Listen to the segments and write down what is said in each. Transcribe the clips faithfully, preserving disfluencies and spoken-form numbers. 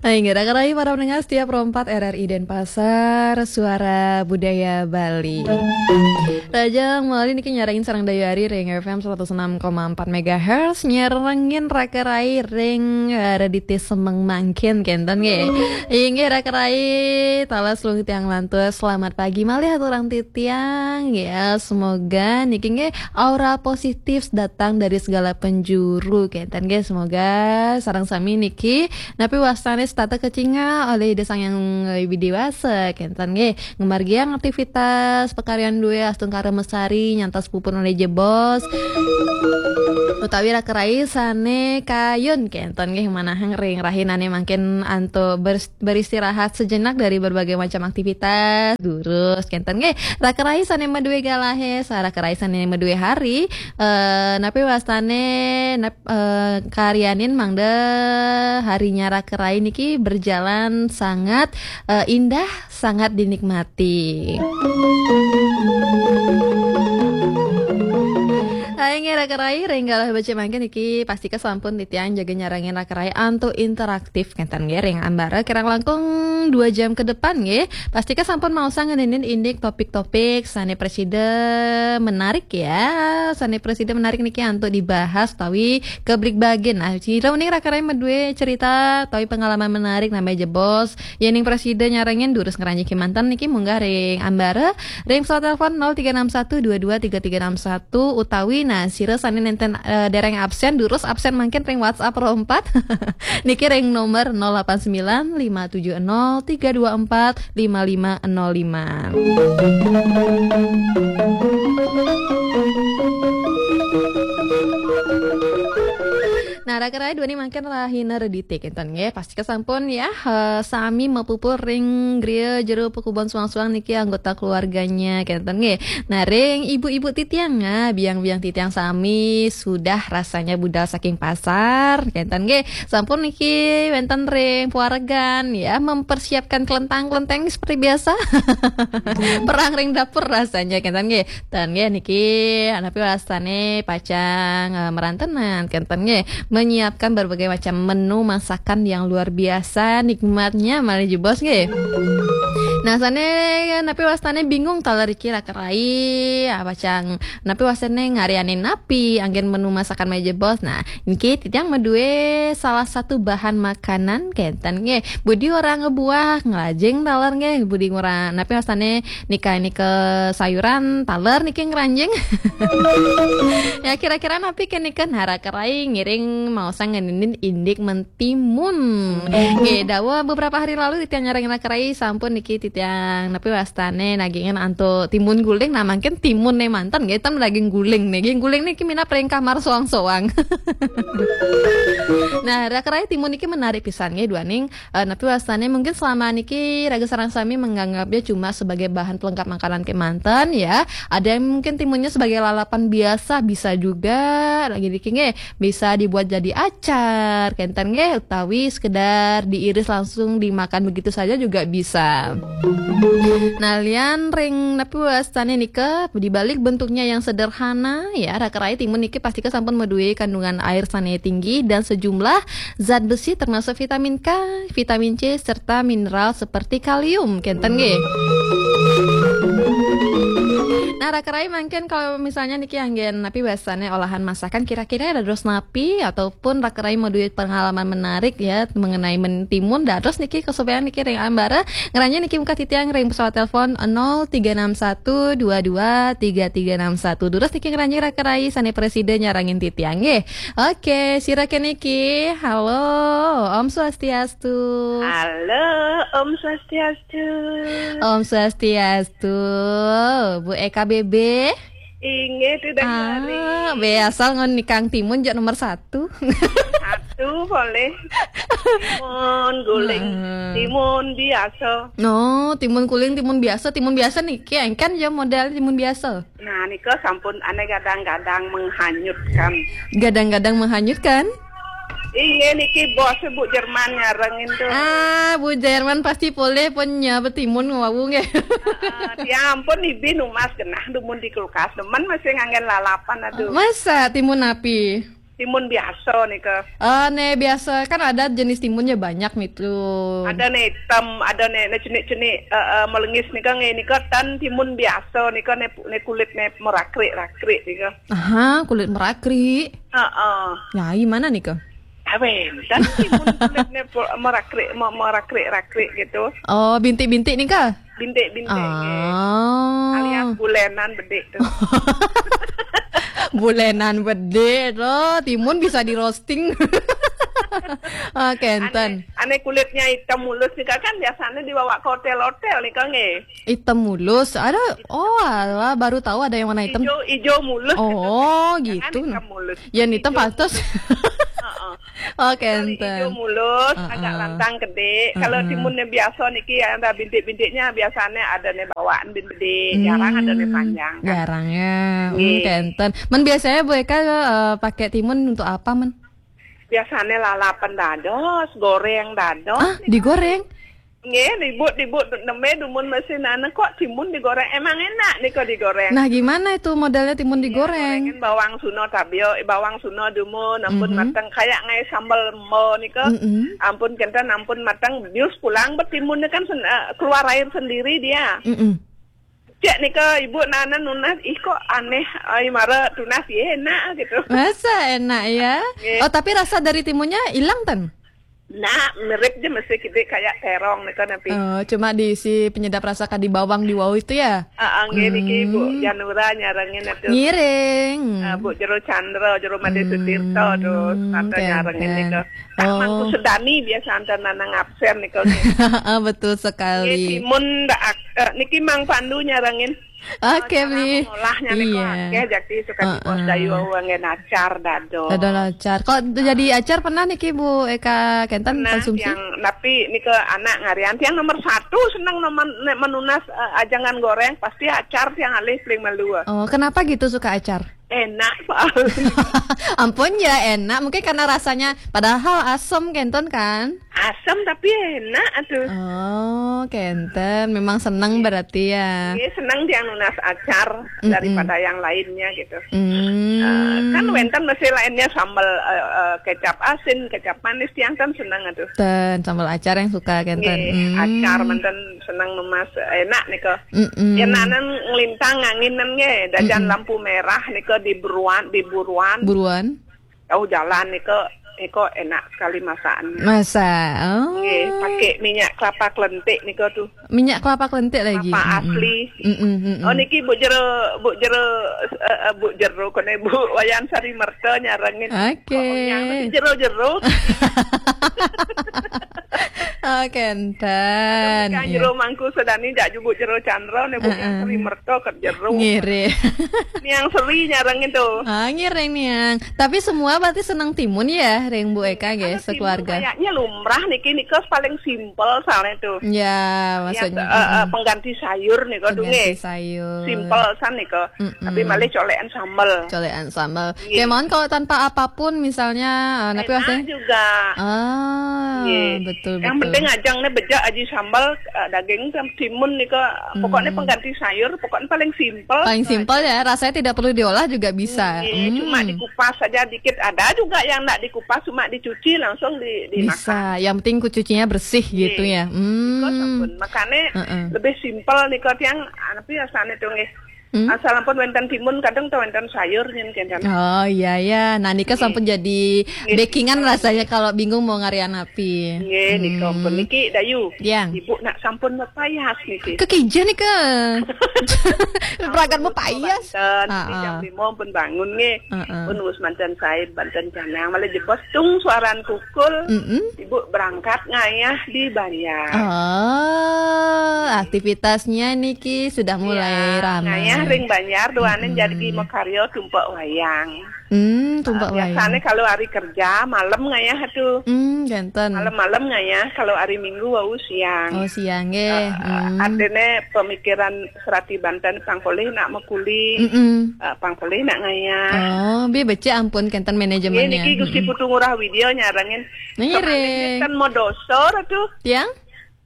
Hai, nggak ada kerai para pendengar setia Pro empat R R I Denpasar, Suara Budaya Bali. Rajang Mali niki nyarangin sareng Dayu Ari ring F M seratus enam koma empat megahertz, nyarengin rakerai ring, eh, redite semeng mangkin kenten nggih. Inggih rakerai, talas lung tiang lantus, selamat pagi malih aturang titiang ya. Semoga niki nggih aura positif datang dari segala penjuru kenten nggih. Semoga sareng sami niki napi wastane setata kacingal olih Ida Sang Hyang Widi Wasa kenten nggih. Ngamargiang aktivitas pakaryan duwe astungkara mesari nyantos puput olih jebos utawi rakerai sane kayun kenten nggih, manahang ring rahinane mangkin antuk ber-, beristirahat sejenak dari berbagai macam aktivitas. Durus kenten nggih. Rakerai sane madue galahe, sa rakerai sane madue hari, eh, napi wastane nap-, eh, karyanin mangda harinya rakerai niki berjalan sangat, eh, indah, sangat dinikmati. Hai nggih rakerai, ring galah becik mangkin niki pastika sampun titiang jaga nyarengin rakerai antuk interaktif kenten nggih ring ambara kirang langkung dua jam ke depan nggih. Pastika sampun maosang ngeninin indik topik-topik sane prasida menarik ya. Sane prasida menarik niki antuk dibahas utawi kebligbagen. Nah, sira uning rakerai madue cerita utawi pengalaman menarik nambah jebos. Yening prasida nyarengin durus ngranjing kemanten niki munggah ring ambara ring pesawat telepon nol tiga enam satu dua dua tiga tiga enam satu utawi nah sira sane nenten, eh, dereng absen durus absen mangkin ring WhatsApp Pro empat niki ring nomor nol delapan sembilan lima tujuh nol tiga dua empat lima lima nol lima. Nah, rakerai duaning mangkin rahina redite kenten nggih. Pastika sampun ya, eh, sami mapupul ring griya jero pakubon suang-suang niki anggota keluarganya kenten nggih. Nah, ring ibu-ibu titiang, ah, biang-biang titiang sami sudah rasanya budal saking pasar kenten nggih. Sampun niki wenten ring pawaregan ya, mempersiapkan kelentang-kelenteng seperti biasa. Perang ring dapur rasanya kenten nggih. Ten nggih niki napi wastane pacang, eh, merantenan kenten nggih, menyiapkan berbagai macam menu masakan yang luar biasa nikmatnya malih jebos nggih. Nah, sane napi wastane bingung taler iki rakerai, ah, pacang napi wastane ngaryanin napi anggen menu masakan malih jebos. Nah, niki titiang madue salah satu bahan makanan kenten nggih. Budi orang ngebuah ngelajeng taler nggih, budi orang napi wastane nika-nika sayuran taler niki ngranjing. Ya, kira-kira napi ke nika nara kerai ngiring maosang ngeninin indik mentimun. Nggih, dawuh beberapa hari lalu titiang nyarengin kerai sampun niki titiang napi wastane nagingin antuk timun guling. Nah, mangkin timun ne manten nggih, ten daging guling ne. Nggih, guling niki minab ring kamar soang-soang. Nah, rakerai timun niki menarik pisan nggih duaning Eh, napi wastane mungkin selama niki raga sareng sami menganggapnya cuma sebagai bahan pelengkap makanan kemanten ya. Ada yang mungkin timunnya sebagai lalapan biasa bisa juga. Lagi niki nggih bisa dibuat jadi acar, kenten nggih utawi sekedar diiris langsung dimakan begitu saja juga bisa. Nah, lian ring napi wastane nika di balik bentuknya yang sederhana ya, rakerai timun niki pastika sampun madue kandungan air sane tinggi dan sejumlah zat besi termasuk vitamin K, vitamin C, serta mineral seperti kalium. Kenten nggih. Nah, rakerai mungkin kalau misalnya niki anggen napi wastane olahan masakan kira-kira dados napi ataupun rakerai madue pengalaman menarik ya mengenai mentimun dados niki kesupean niki ring ambara ngranya niki muka titiang ring pesawat telepon nol tiga enam satu dua dua tiga tiga enam satu. Durus niki ngranya rakerai sane prasida nyarengin titiang nggih. Oke, sira keniki. Halo, Om Swastiastu. Halo, Om Swastiastu. Om Swastiastu. Bu E K B B. Inggih, tidak ah, hari. Be asal ngon nikang timun jok nomor satu. Satu boleh. Timun guling, hmm. Timun biasa. No, timun guling, timun biasa, timun biasa niki engken ya model timun biasa. Nah, nika sampun ane gadang-gadang menghanyutkan. Gadang-gadang menghanyutkan? Iya, niki bos Bu Jerman nyarengin tuh. Ah, Bu Jerman pasti polih pun nyabet timun wau nggih. Heeh, ya ampun, ibi numas genah dumun di kulkas. Demen masih nganggen lalapan, aduh. Masa timun napi? Timun biasa nika. Ah, ne biasa kan ada jenis timunnya banyak nih tuh. Ada ne hitam, ada ne, ne cenik-cenik, eh, eh, melengis nika nge nika tan timun biasa nika ne, ne kulit ne merakrik-rakrik nika. Aha, kulit merakrik. Heeh. Nah, gimana nih, Kak? Awen, dan timun kulit ne po- merakrik me- merakrik-rakrik gitu. Oh, bintik-bintik nih, Kak? Bintik-bintik. Ah. Alias bulenan bedik tuh. Bulenan bedik loh, timun bisa di roasting. Oh, kenten. Ane, ane kulitnya hitam mulus nih, Kak, kan biasanya dibawa ke hotel-hotel nih, Kak, nggih. Hitam mulus, ada. Oh, alah, baru tahu ada yang warna hitam. Ijo, ijo mulus gitu. Oh, gitu. Jangan hitam mulus. Yang hitam pantas. Heeh. Oh, kenten. Ijo mulus, agak lantang gede. Kalau timunnya biasa niki ya, ada bintik-bintiknya, biasanya ada nih bawaan bin gede, jarang ada nih panjang, kan. Jarang ya. Hmm, kenten. Men biasanya Bu Eka, eh, pakai timun untuk apa, men? Biasanya lalapan dados, goreng dados. Ah, digoreng? Nggih, ibu, ibu neme dumun mesin anu kok timun digoreng. Emang enak nih kok digoreng. Nah, gimana itu modelnya timun digoreng? Gorengin bawang suno tabio, bawang suno dumun, ampun mateng. Kayak ngai sambal mo nih kok. Ampun kenten, ampun mateng. Bius pulang, betimunnya kan sen- eh, keluar air sendiri dia. Mm-mm. Cek nih ke ibu nana nunas, ih kok aneh, ai mara tunas ya enak gitu. Masa enak ya? Nggih. Oh, tapi rasa dari timunnya hilang, ten? Nah, mirip aja masih gede kayak terong nih kan, tapi. Oh, cuma diisi penyedap rasa kadi bawang di wau itu ya? Ah, ah, nggih niki Bu Janura nyarengin itu. Ngiring. Ah, Bu Jero Chandra, Jero Made Sutirta, terus tante nyarengin itu. Oh. Mangku Sedani biasa antar nanang absen nih kalau. Ah, betul sekali. Nggih, timun ndak ak- eh, niki Mang Pandu nyarengin. Oke, Bli. Olahnya nih kok akeh, jadi suka di pos dayu wau anggen acar dado. Dado acar. Kok jadi acar pernah niki Bu Eka kenten konsumsi? Yang tapi nih ke anak ngarian tiang nomor satu seneng nomor nek menunas eh, ajangan goreng pasti acar tiang alih paling melu. Oh, kenapa gitu suka acar? Enak soalnya. Ampun ya enak, mungkin karena rasanya padahal asam kenten kan? Asam tapi enak tuh. Oh, kenten. Memang seneng berarti ya. Iya, seneng dia nunas acar daripada yang lainnya gitu. Hmm. Eh, kan wenten masih lainnya sambal eh, eh, kecap asin, kecap manis, tiang kan seneng tuh. Ten, sambal acar yang suka kenten. Nggih, acar menten seneng nunas enak nih kok. Mm-mm. Ya nanan ngelintang nganginan nge, dajan lampu merah nih kok di buruan, di buruan. Buruan. Tahu jalan nih kok, iko enak sekali masakan. Masa? Oh. Nggih, pakai minyak kelapa kelentik nih kok tuh. Minyak kelapa kelentik lagi. Kelapa asli. Mm-mm, mm-mm. Oh niki Bu Jero, Bu Jero, eh, eh, Bu Jero kene Bu Wayan Sari Merta nyarengin. Oke. Oh, yang jero-jero. Oh, kenten. Kan jero Mangku Sedani jak jubuk jero Chandra ne Bu Wayan Sari Merta ke jero. Ngiri. Niang Seri nyarengin tuh. Ah, ngiring niang. Tapi semua berarti senang timun ya, ring Bu Eka nggih, sekeluarga. Kayaknya lumrah niki nika paling simpel soalnya tuh. Ya, maksudnya eh, eh, pengganti sayur nih kok. Pengganti sayur. Simpel san nih kok. Tapi malah colekan sambel. Colekan sambel. Iya. Kemauan kalau tanpa apapun misalnya, eh, tapi enak juga. Ah, iya. Betul. Yang penting ajang nih bejak aji sambel, eh, daging sama timun nih kok. Pokoknya pengganti sayur, pokoknya paling simpel. Paling simpel ya, rasanya tidak perlu diolah juga bisa. Iya, cuma dikupas saja dikit. Ada juga yang nggak dikupas, cuma dicuci langsung di dimakan. Bisa. Yang penting kucucinya bersih gitu ya. Iya. Hmm. Makanya lebih simpel nih kok yang tapi rasanya tuh nggih. Hmm? Asal ampun wenten timun kadang tuh wenten sayur nyen kan. Oh iya ya. Nah nika sampun jadi backingan rasanya kalau bingung mau ngarian api. Nggih, nika ampun niki Dayu. Yang. Ibu nak sampun mepayas niki. Kekija nika. Beragat mepayas. Banten, niki jam lima pun bangun nggih. Pun wis manten said, banten janang malah jebos tung suaran kukul. Ibu berangkat ngayah di Banjar. Oh, aktivitasnya niki sudah mulai ramai. Ngayah ring Banjar duanen jadi makarya tumpek wayang. Hmm, tumpek wayang. Biasanya kalau hari kerja malam ngayah tuh. Hmm, janten. Malam-malam ngayah, kalau hari Minggu wau siang. Oh, siang nggih. Artinya pemikiran serati banten pang polih nak mekuli. Eh, pang polih nak ngayah. Oh, bi becik ampun kenten manajemennya. Niki Gusti Putu Ngurah Widya nyarengin. Ngiring. Kan mau dosa tuh. Tiang?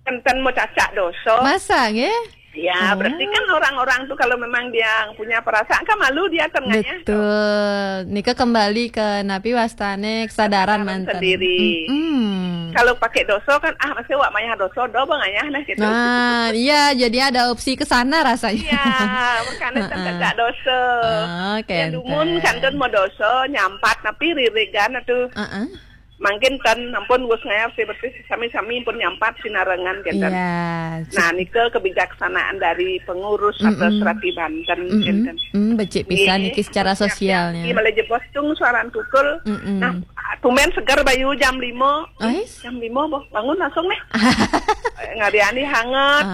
Kenten mau cacak dosa. Masa nggih? Ya, berarti kan orang-orang tuh kalau memang dia punya perasaan kan malu dia tengahnya. Betul. Nika kembali ke napi wastane kesadaran manten. Sendiri. Kalau pakai dosa kan, ah, masih wak mayah dosa, do bang ayah nah gitu. Nah, iya, jadi ada opsi ke sana rasanya. Iya, makanya kan tak dosa. Yang dumun kantun mau dosa, nyampat, tapi ririgan tuh. Mangkin kan ampun Gus ngayap sih, berarti sami-sami pun nyampat sinarengan kenten. Nah, nika kebijaksanaan dari pengurus atau serati Banten kenten. Hmm, becik pisan niki secara sosialnya. Malah jebos tung suaran kukul. Nah, tumben seger bayu jam lima. Jam lima boh, bangun langsung nih. Ngariani hangat.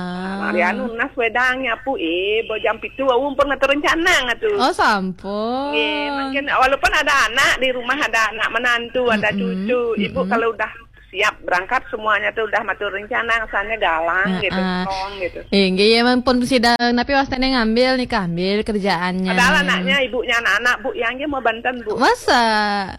Ngariani unas wedang nyapu, eh, boh jam pitu, aku pun ngetu rencana ngatu. Oh, sampun. Nggih, mungkin walaupun ada anak di rumah, ada anak menantu, ada cucu, ibu kalau udah siap berangkat semuanya tuh udah matur rencana, asalnya galang gitu, strong gitu. Inggih, ya ampun sida napi wastane ngambil nika, ambil kerjaannya. Padahal anaknya, ibunya anak-anak, Bu, yang dia mau banten, Bu. Masa?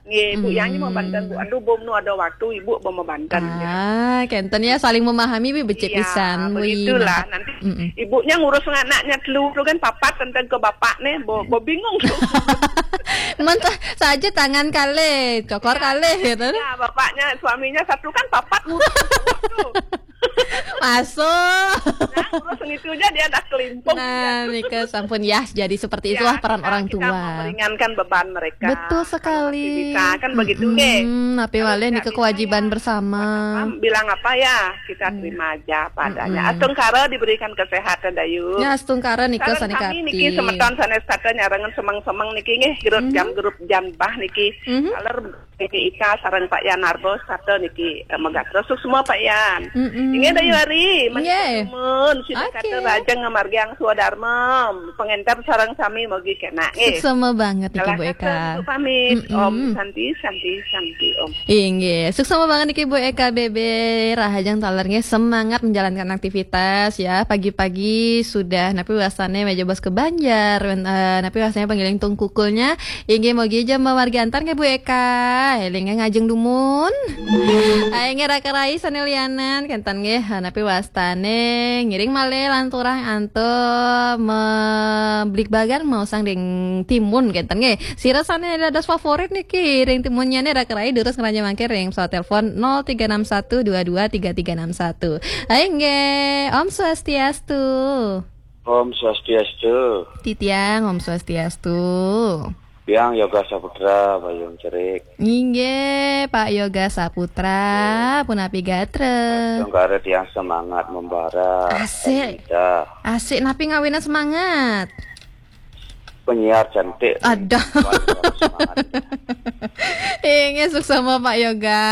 Nggih, Bu, yang mau banten, Bu. Aduh, bom nu ada waktu, Ibu, bom mau banten. Ah, kenten ya, saling memahami, bi becik pisan. Begitulah. Nanti ibunya ngurus anaknya telu tu kan papat tentang ke bapak nih, bo, bo bingung tu. Mentah saja tangan kalih, cokor kalih gitu. Ya, bapaknya, suaminya satu kan papat ngurus tu. Masuk. Nah, ngurus itu aja dia dah kelimpung. Nah, nika sampun ya, jadi seperti itulah peran orang tua. Meringankan beban mereka. Betul sekali. Bisa kan begitu nggih. Tapi wale nika kewajiban bersama. Bilang apa ya, kita terima aja apa adanya. Astungkara diberikan kesehatan, Dayu. Ya, astungkara nika sanes kami niki semeton sanes kata nyarengan semeng-semeng niki nggih, grup jam, grup jam bah niki. Aler Niki Ika sareng Pak Yan Arbo sarta niki, eh, Megatros semua Pak Yan. Inggih Dayu Ari, nggih. Sumun, sida kata rajeng ngamargiang swadarma, pengenter sareng sami mogi kena nggih. Suksma banget niki Bu Eka. Pamit. Om Santi, Santi, Santi, Om. Inggih, suksma banget niki Bu Eka Bebe, rahajeng taler nggih semangat menjalankan aktivitas ya. Pagi-pagi sudah napi wastane meja bos ke Banjar, eh, napi wastane penggiling tungkukulnya. Inggih, mogi aja mamargi antar nggih Bu Eka. Eling ngajeng dumun. Ae nggih raka rai sane lianan kenten nggih, napi wastane ngiring malih lanturang antuk mebligbagan maosang ring timun kenten nggih. Sira sane dados favorit niki ring timunnyane raka rai durus ngrajang mangke ring pesawat telepon nol tiga enam satu dua dua tiga tiga enam satu. Ae nggih, Om Swastiastu. Om Swastiastu. Titiang, Om Swastiastu. Tiang Yoga Saputra, Bayung Cerik. Inggih, Pak Yoga Saputra, punapi gatra? Astungkara tiang semangat membara. Asik. Asik, napi ngawinang semangat? Penyiar cantik. Aduh. Semangat. Inggih, suksma Pak Yoga.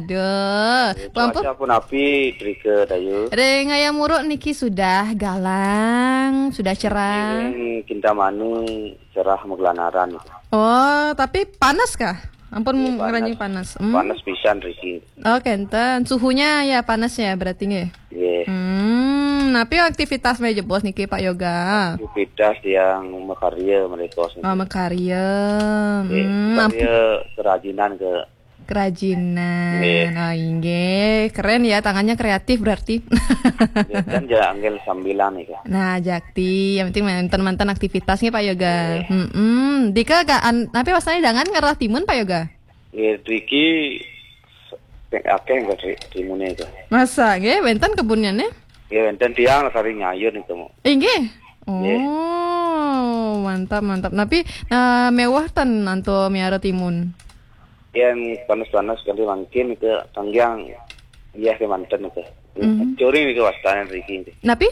Aduh. Cuaca punapi drika, Dayu? Ring Hayam Wuruk niki sudah galang, sudah cerah. Ring Kintamani cerah maglanaran. Oh, tapi panas kah? Ampun, ngeranjing panas. Panas pisan riki. Oh, kenten. Suhunya ya panas ya berarti nggih? Nggih. Hmm, napi aktivitas meja bos niki Pak Yoga? Aktivitas yang makarya mereka niki. Oh, makarya. Nggih, makarya kerajinan ke. Kerajinan. Nggih. Oh, inggih. Keren ya, tangannya kreatif berarti. Nggih, kan ya angel sambilan nih kan. Nah, jakti, yang penting manten-manten aktivitas nggih Pak Yoga. Nggih. Mm-mm. Dika gak an-, napi wastane dangan ngerah timun Pak Yoga? Nggih, driki akeh nggih timune itu. Masa nggih wenten kebunnya nih? Nggih, wenten tiang kari nyayur niku. Inggih. Nggih. Oh, mantap, mantap. Napi, eh, mewah ten antuk miara timun? Yang panas-panas kali mangkin ke tanggiang, iya, ke manten itu. Curing niku wastane riki. Napi?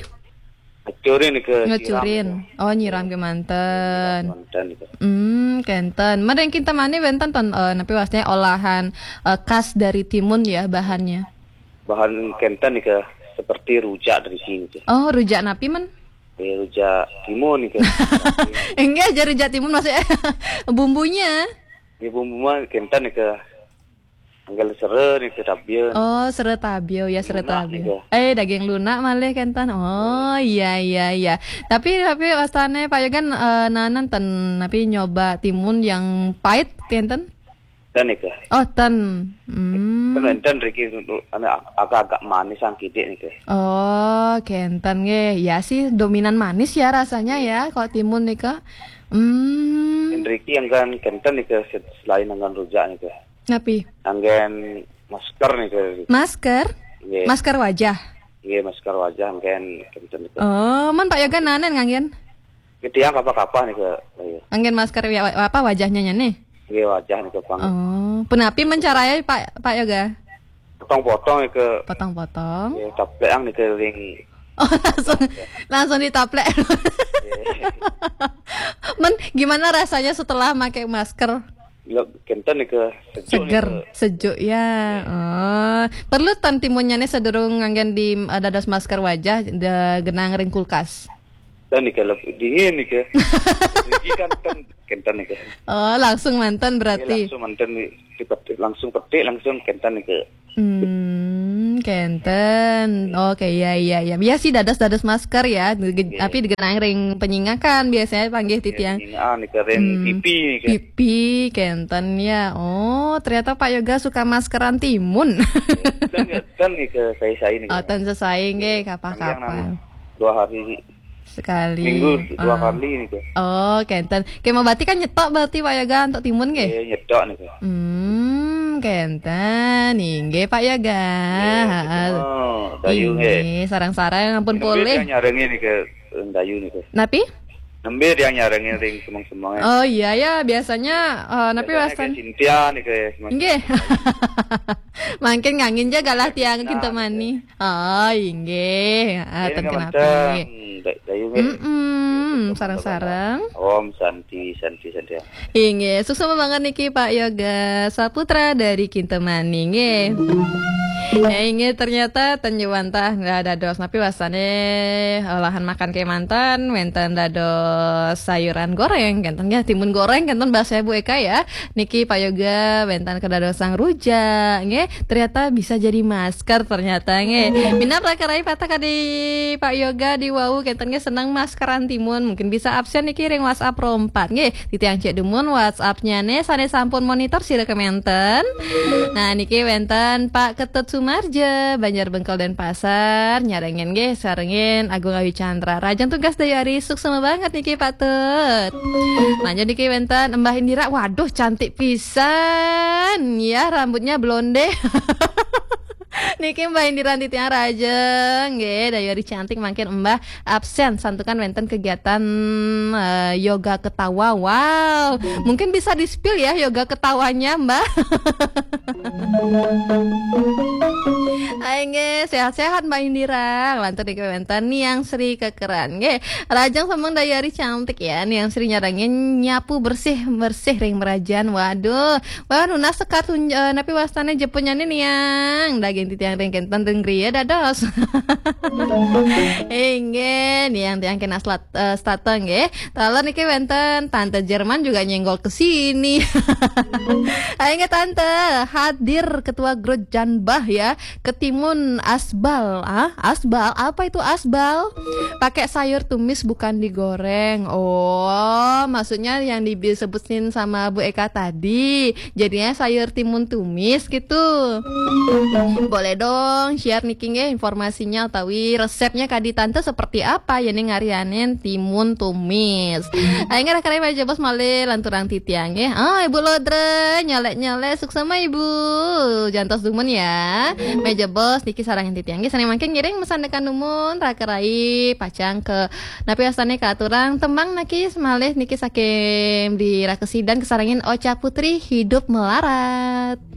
Ngecurin ke. Ngecurin. Oh, nyiram ke manten. Manten gitu. Hmm, kenten. Mending kita mana wenten ton, eh, napi wastane olahan, eh, khas dari timun ya bahannya. Bahan kenten ke seperti rujak dari sini ke. Oh, rujak napi men? Eh, rujak timun ke. Enggak aja rujak timun maksudnya bumbunya. Ya bumbu mah kenten ke. Anggal sere nih ke tabia. Oh, sere tabia ya, sere tabia. Eh, daging lunak malih kenten. Oh, iya, iya, iya. Tapi, tapi wastane Pak Yogan, eh, nanan ten, tapi nyoba timun yang pahit kenten? Ten niki. Oh, ten. Hmm. Ten, ten niki anu, agak-agak manis sang kidik niki. Oh, kenten nggih. Ya sih, dominan manis ya rasanya ya, kalau timun nika. Hmm. Ten niki anggen kenten niki, se-, selain anggen rujak niki. Napi? Anggen masker niki. Masker? Nggih. Masker wajah? Nggih, masker wajah anggen kenten niki. Oh, man Pak Yoga nanen nganggen? Nggih, tiang kapah-kapah niki. Iya. Anggen masker ya, wa-, apa wajahnya nih? Nggih, wajah niki pang. Oh, punapi mencarai Pak, Pak Yoga? Potong-potong niki. Potong-potong. Nggih, taplek ang niki ring. Oh, langsung, langsung ditaplek. Nggih. Men, gimana rasanya setelah pakai masker? Lep, kenten niki sejuk. Seger, niki. Sejuk ya. Oh, perlu ten timunnya nih sedurung nganggen di, eh, dados masker wajah, de-, genang ring kulkas. Ten niki lep dingin niki. Niki kan ten, kenten niki. Oh, langsung manten berarti. Iya, langsung manten nih. Dipetik, langsung petik, langsung kenten niki. Hmm, kenten. Oke, iya, iya, iya. Ya sih, dados-dados masker ya. Ge-, iya. Tapi digenang ring penyingakan biasanya panggih. Iya, titiang. Penyingakan niki ring, hmm, pipi niki. Pipi, kenten ya. Oh, ternyata Pak Yoga suka maskeran timun. Ten, ten niki sesai-sesai niki. Oh, ten sesai nggih, kapah-kapah. Dua hari sekali. Minggu dua kali niki. Oh, kenten. Kema berarti kan nyetok berarti Pak Yoga untuk timun nggih? Nggih, nyetok niki. Hmm, kenten. Inggih Pak Yoga. Nggih, heeh. Dayu nggih. Inggih, sareng-sareng ampun polih. Nembe tiang nyarengin niki, dayu niki. Napi? Nembe tiang nyarengin ring semeng-semeng. Oh iya ya, biasanya, eh, napi wastan? Biasanya ke Cynthia niki, semeng-semeng. Nggih. Mangkin ngangin ja galah tiang kinten mani. Oh, inggih. Ah, nggih, ten nggih, kenapi. Mantap. Dayu nggih. Mm-mm, sareng-sareng. Om Santi, Santi, Santi. Inggih, suksma banget niki Pak Yoga Saputra dari Kintamani nggih. Ya, inggih, ternyata ten jawantah nggih dados napi wasane olahan makan kemanten, wenten dados sayuran goreng, kenten nggih, timun goreng, kenten bahasa Bu Eka ya. Niki Pak Yoga wenten kedadosang rujak nggih. Ternyata bisa jadi masker ternyata nggih. Minab raka-raka patah kadi Pak Yoga di wau kenten nggih seneng maskeran timun. Mungkin bisa absen niki ring WhatsApp rompat nggih. Titiang cek dumun WhatsApp-nya ne sane sampun monitor sira kementen. Nah, niki wenten Pak Ketut Sumarja, Banjar Bengkel Denpasar, nyarengin nggih, sarengin Agung Ayu Chandra. Rajang tugas dayari, suksma banget niki Pak Tut. Lanjut niki wenten Mbah Indira, waduh cantik pisan ya rambutnya blonde. Niki Mbah Indira titiang rajeng nggih, dayari cantik mangkin Mbah absen santukan wenten kegiatan, eh, yoga ketawa. Wow, mungkin bisa di-spill ya yoga ketawanya Mbah. Ayo nggih, sehat-sehat Mbak Indira. Lantur niki wenten Niang Sri Kekeran nggih. Rajang semeng dayari cantik ya. Niang Sri nyarengin nyapu bersih-bersih ring merajan. Waduh, wah nunas sekat, eh, napi wastane jepunnya nih Niang. Daging titiang ring kenten ring griya dados. Inggih, Niang tiang kena slat-, eh, stata nggih. Taler niki wenten Tante Jerman juga nyenggol ke sini. Ayo nggih Tante, hadir Ketua Grup Janbah ya. Ketimun asbal, ah, asbal, apa itu asbal? Pakai sayur tumis bukan digoreng. Oh, maksudnya yang disebutin sama Bu Eka tadi, jadinya sayur timun tumis gitu. Boleh dong share niki nggih informasinya utawi resepnya kadi Tante seperti apa ya nih ngarianin timun tumis. Ayo nggih, raka-raka meja bos malih lanturang titiang nggih. Ah, Ibu Lodre nyelek-nyelek, suksma Ibu. Jantos dumun ya. Meja bos niki sarengin titiang nggih. Sane mangkin ngiring mesan tekan dumun raka-raka pacang ke napi wastane katurang tembang niki semalih niki saking di Rakesidan kesarengin Ocha Putri, Hidup Melarat.